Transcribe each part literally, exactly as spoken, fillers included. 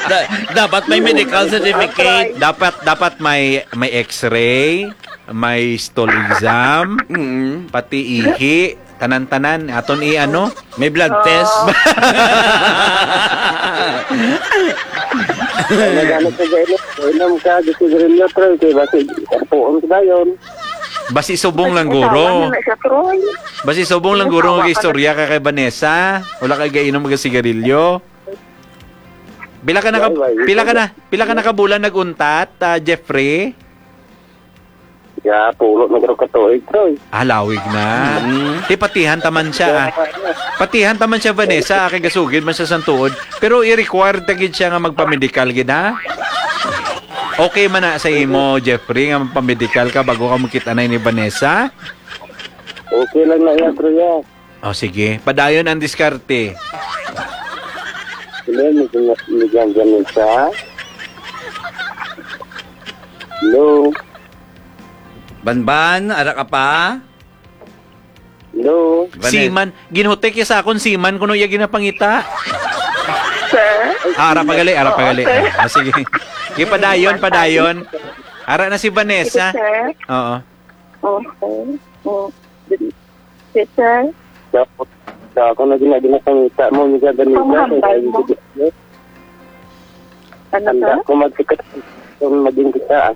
Da- dapat may medical certificate. Dapat, dapat may, may X-ray, may stool exam, Mm. pati ihi, tanan-tanan. Aton i-ano? May blood test. Nagano sa gainom, inom ka, di sigarilyo, Troy, kay basi, puon ka dayon. Basi subong lang guro. Asawa na na siya, Troy. Basi subong lang guro nga istorya ka kay Vanessa. Wala kay gainom nga sigarilyo. Pila ka naka, Why, why? Pila ka na, pila ka na ka bulan nag-untat, ah, Jeffrey? Ya, pulo na garo ka tuig, Troy. Ah, lawig na. Mm. Di patihan taman siya, ah. Patihan taman siya, Vanessa, ah, kay gasugid man siya sang tuod. Pero i-required ta gid siya nga magpamedikal gid, ha? Okay man na sa imo, Jeffrey, nga magpamedikal ka bago ka magkita na ni Vanessa? Okay lang na iya, Troy, ah. O, sige. Padayon ang diskarte. Hello, Mig-, Mig-, Vanessa? Hello? Banban, ara ka pa? Hello? Vanessa. Seaman, ginhutek ya sa akon seaman kuno iya ginapangita. Sir? Ah, ara pa gali, ara pa gali. Oo, sir. Ah, sige. Sige, padayon, padayon. Ara na si Vanessa. Sige, sir. Oo. Okay. Mm. Yes, sir. Sa, sa ako na gina-, ginapangita mo, Miga Vanessa, Ang hambal mo. Ano, Handa sir? ko magsikap kung maging kita, ah.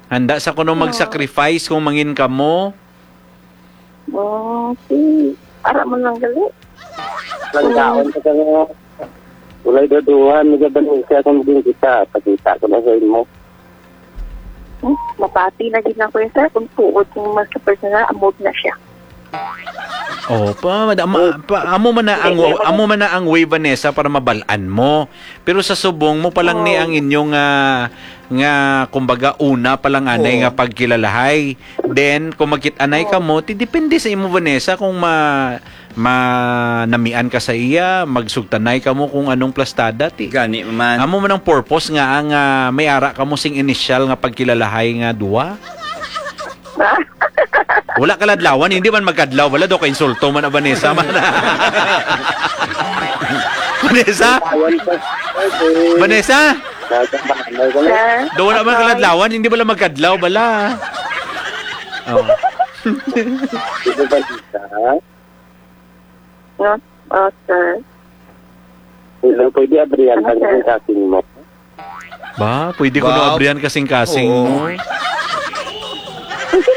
Handa sa kuno Oh. mag-sacrifice kung mangin kamo. Oh, okay. Ara mo lang gali. Lang Oo. taon ka nga. Walay daduhan, Miga Vanessa, kung maging kita, pakita ko na sa imo. Hmm, mapati na gid na ko yun, sir. Kung tuod kung mas personal, amog na siya. Oh, pa, madama, pa, amo man na ang, Hindi, amo man na ang way, Vanessa, para mabal-an mo. Pero sa subong mo pa lang ni Oh. ang inyong, ah, nga, kumbaga, una pa lang anay Oo. nga pagkilalahay. Then, kung magkit-anay ka Oh. mo, ti depende sa imo, Vanessa, kung ma-, manamian ka sa iya, magsugtanay ka mo kung anong plastada, ti. Gani man. Amo man ang purpose nga ang, ah, may ara ka mo sing initial nga pagkilalahay nga duwa. Wala kaladlawan, hindi man magkadlaw, wala daw ka insulto man, ah, Vanessa man. Vanessa? Awan pa. Vanessa? Nasa bahay ko na. Sir? Do wala man Ako. kaladlawan, hindi bala magkadlaw, bala. Oh. Dito ba, Vanessa? No? Oh, sir. Hello, pwede abrihan Ano, ka sir? ng kasing mo? Ba, pwede ko Wow. no abrihan kasing-kasing Oo. mo. Pwede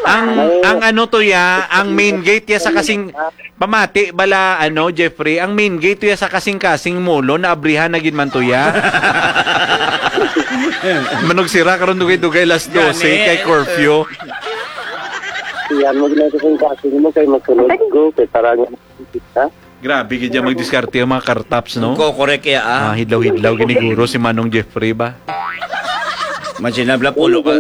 Ang, man. ang ano to ya, ang main gate ya sa kasing, pamati bala, ano, Jeffrey, ang main gate to ya sa kasing-kasing mulo, naabrihan na gid man to ya. Manugsira karon dugay-dugay las dose Gani. kay curfew. Yan, wag na kasing-kasing mo kay magsunod ko, kay parang kita. Grabe gid dyan magdiskarte ang mga kartaps, no? Ko, correct kaya, ah. Ah, hidlaw-hidlaw, giniguro si Manong Jeffrey ba? Mansinabla pulo ka.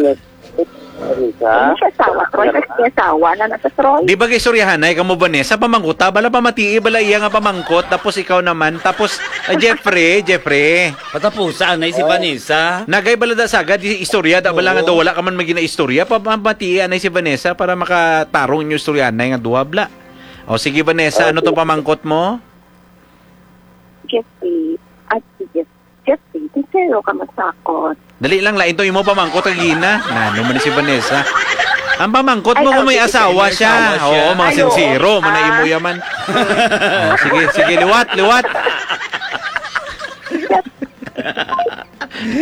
Ano siya, asawa, Troy? Kasi may asawa na na sa Troy. Di ba kay istoryahanay ka mo, Vanessa? Pamangkota, bala pamatii, bala iya nga pamangkot, tapos ikaw naman, tapos, ah, Jeffrey, Jeffrey. Patapusa, anay si Oh. Vanessa. Nagay bala da sagad, i-, istorya, da bala nga Oo. daw wala ka man maginaistorya, pa-, pamatii, anay si Vanessa, para makatarong inyo istoryahanay nga duha, bla. O, sige, Vanessa, ano to Okay. pamangkot mo? Jeffrey, at si Jeff-, Jeffrey, sincero ka masakot. Dali lang, lain to imo pamangkot kag ina. Nano man si Vanessa? Ang pamangkot mo Ay, kung may okay. asawa May siya. asawa siya. Oo, mga Ay, oo. sincero, man na Ah. imo yaman. Oh, sige, sige, liwat, liwat.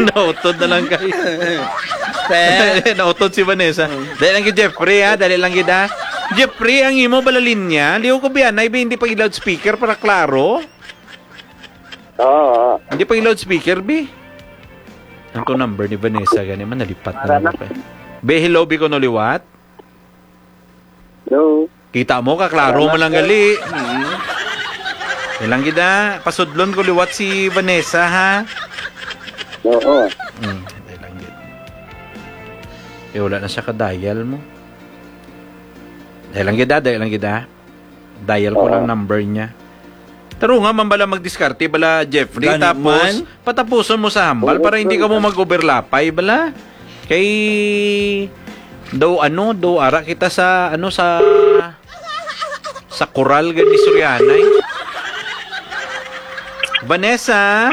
Nautod na lang kayo. Sir. Nautod si Vanessa. Dali lang kay Jeffrey, ha? Dali lang gid, ha? Jeffrey, ang imo bala linya? Liw ko biya, na, hindi pa loudspeaker para klaro. Oo, oo. Hindi pa loudspeaker, bi. Ang to number ni Vanessa, gani man, nalipat na Para lang na. pa. Be, hello, bi, ko no liwat? Hello. Kita mo, kaklaro Salamat, man lang sir. gali. Mm. Ilang gid, ah. Pasudlon ko liwat si Vanessa, ha? Oo. Mm, ilang gid. Eh, wala na siya ka-dial mo. Dahil lang gid, ah, dahil lang gid, ah. Dial ko Oo. lang number niya. Taro nga man bala magdiskarte bala, Jeffrey, Gani tapos man. patapuson mo sa hambal Oo, para hindi ka mo sir. mag-overlapay bala. Kay daw ano, daw ara kita sa ano, sa sa koral gani Sorianay. Vanessa,